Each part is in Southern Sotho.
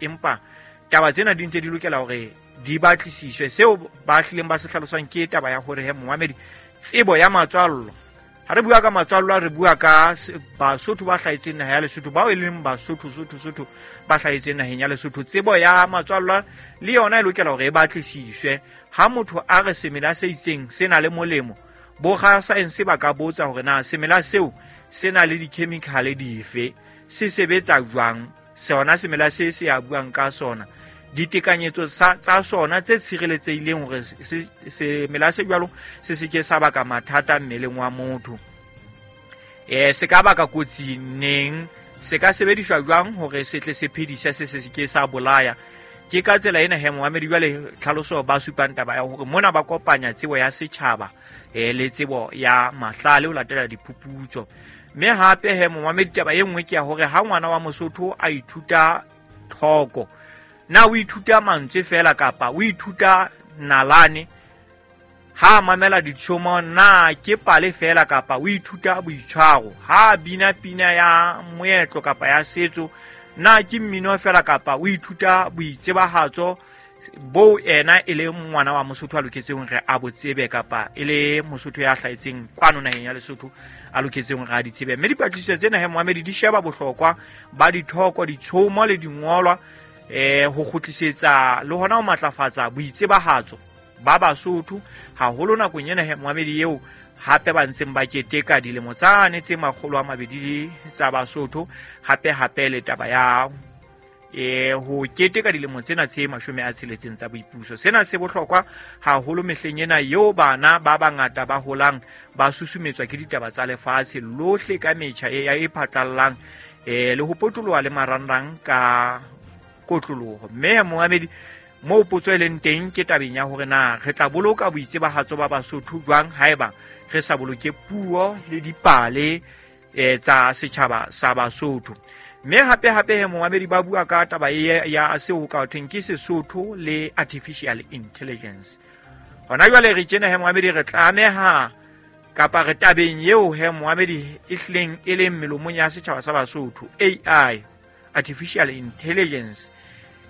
Empa taba tsena di ntse di lokela hore di batlisiswe. Seo ba hlileng ba se hlalosang ke taba ya hore he momamedi, tsebo ya matswallo, ha re bua ka matswallo re bua ka Basotho ba hlahetseng naha ya Lesotho, bao e leng Basotho Sotho Sotho ba hlahetseng naheng ya Lesotho. Tsebo ya matswallo le yona e lokela hore e batlisiswe. Ha motho a re semela se itseng se na le molemo, borasaense ba ka botsa hore na semela seo se na le dikhemikhale dife, se sebetsa jwang, sona semela se se a buang ka sona, ditekanyetso tsa sona tse tshireletsehileng hore semela se jwalo se se ke sa baka mathata mmeleng wa motho, se ka baka kotsi neng, se ka sebediswa jwang hore se tle se phedise, se se ke sa bolaya. Ke ka tsela ena he momamedi jwale tlhaloso ba supang taba ya hore mona ba kopanya tsebo ya setjhaba le tsebo ya mahlale ho latela diphuputso. Mme hape he momamedi taba e nngwe ke ya hore ha ngwana wa Mosotho a ithuta thoko, na o ithuta mantswe fela kapa o ithuta nalane? Ha a mamela ditshomo, na ke pale fela kapa o ithuta boitshwaro? Ha a bina pina ya moetlo kapa ya setso, na ke mmino fela kapa o ithuta boitsebahatso boo ena e le ngwana wa Mosotho a loketseng re a bo tsebe, kapa e le Mosotho ya hlahetseng kwano naheng ya Lesotho a loketseng re a di tsebe? Mme dipatlisiso tsena he momamedi di sheba bohlokwa ba dithoko, ditshomo le dingolwa, ho kgutlisetsa le hona ho matlafatsa boitsebahatso ba Basotho haholo nakong ena he momamedi eo hape ba ntseng ba keteka dilemo tsane tse 200 tsa Basotho, hape hape le taba ya ho keteka dilemo tsena tse 60 tsa boipuso. Sena se bohlokwa haholo mehleng ena eo bana ba bangata ba holang ba susumetswa ke ditaba tsa lefatshe lohle ka metjha e phatlallang, le ho potoloha le marangrang ka kotloloho. Mme momamedi, moo potso e leng teng ke tabeng ya hore na re tla boloka boitsebahatso ba Basotho jwang haeba re sa boloke puo le dipale tsa setjhaba sa Basotho. Mme hape hape he momamedi ba bua ka taba e ya seo ho ka thweng ke Sesotho le artificial intelligence. Hona jwale re tjena he momamedi re tlameha kapa re tabeng eo he momamedi e hlileng e leng melomong ya setjhaba sa Basotho, AI, artificial intelligence.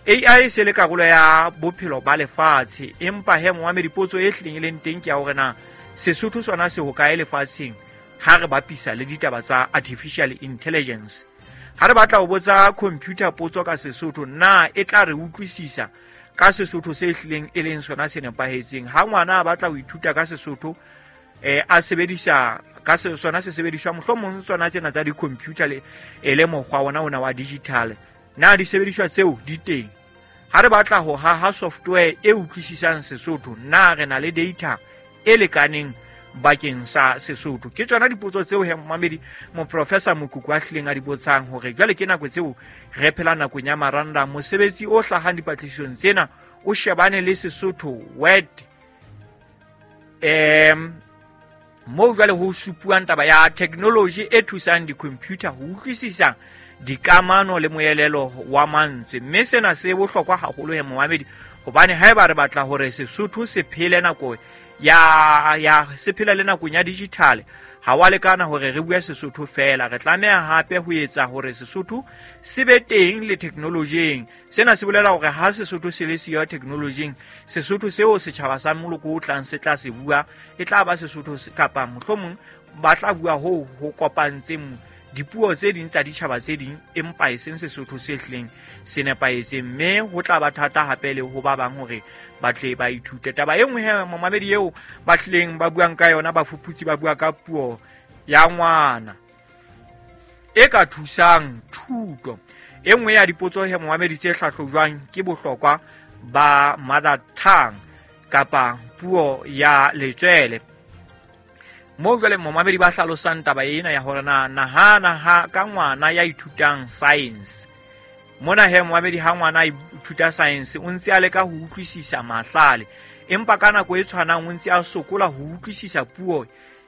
AI e se le karolo ya bophelo ba lefatshe, empa he momamedi potso e hlileng e leng teng ke ya hore na Sesotho sona se hokae lefatsheng ha re bapisa le ditaba tsa artificial intelligence. Ha re batla ho botsa computer potso ka Sesotho, na e tla re utlwisisa ka Sesotho se hlileng e leng sona se nepahetseng? Ha ngwana a batla ho ithuta ka Sesotho, a sebedisa ka sona se sebediswa mohlomong tsona tsena tsa di-computer le e le mokgwa ona ona wa digital, na disebediswa tseo di teng? Ha re batla ho haha software e utlwisisang Sesotho, na re na le data e lekaneng bakeng sa Sesotho? Ke tsona dipotso tseo he momamedi moprofessor Mokuku a hlileng a di botsang hore jwale ke nako tseo re phela nakong ya marangrang. Mosebetsi o hlahang dipatlisisong tsena o shebane le Sesotho word, moo jwale ho supuwang taba ya technology e thusang di-computer ho utlwisisa dikamano le moelelo wa mantswe. Mme sena se bohlokwa haholo he momamedi, hobane haeba re batla hore Sesotho se phele nako ya se phele le nakong ya digital, ha wa lekana hore re bue Sesotho fela, re tlameha hape ho etsa hore Sesotho se be teng le technology-eng. Sena se bolela hore ha Sesotho se le siyo technology-eng, Sesotho seo setjhaba sa moloko o tlang se tla se bua e tla ba Sesotho kapa mohlomong ba tla bua hoo ho kopantseng dipuo tse ding tsa ditjhaba tse ding, empa e seng Sesotho se hlileng se nepahetseng. Mme ho tla ba thata hape le ho ba bang hore ba tle ba ithute. Taba e nngwe he momamedi eo ba hlileng ba buang ka yona, bafuputsi ba bua ka puo ya ngwana e ka thusang thuto. E nngwe ya dipotso he momamedi tse hlahlojwang ke bohlokwa ba mother tongue kapa puo ya letswele. Moo jwale momamedi ba hlalosang taba ena ya hore na nahana ha ka ngwana ya ithutang science. Mona he momamedi ha ngwana a ithuta science o ntse a leka ho utlwisisa mahlale, empa ka nako e tshwanang o ntse a sokola ho utlwisisa puo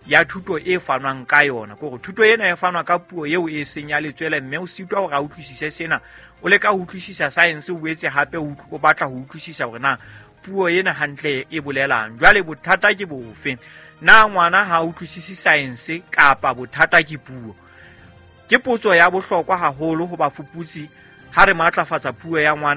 ya thuto e fanwang ka yona. Ke hore thuto ena e fanwa ka puo eo e seng ya letswele, mme o sitwa hore a utlwisise sena. O leka ho utlwisisa science, o boetse hape o batla ho utlwisisa hore na puo ena hantle e bolelang. Jwale bothata ke bofe? Na ngwana ha a utlwisise science kapa bothata ke puo? Ke potso ya bohlokwa haholo ho bafuputsi Ha re matlafatsa puo ya ngwana.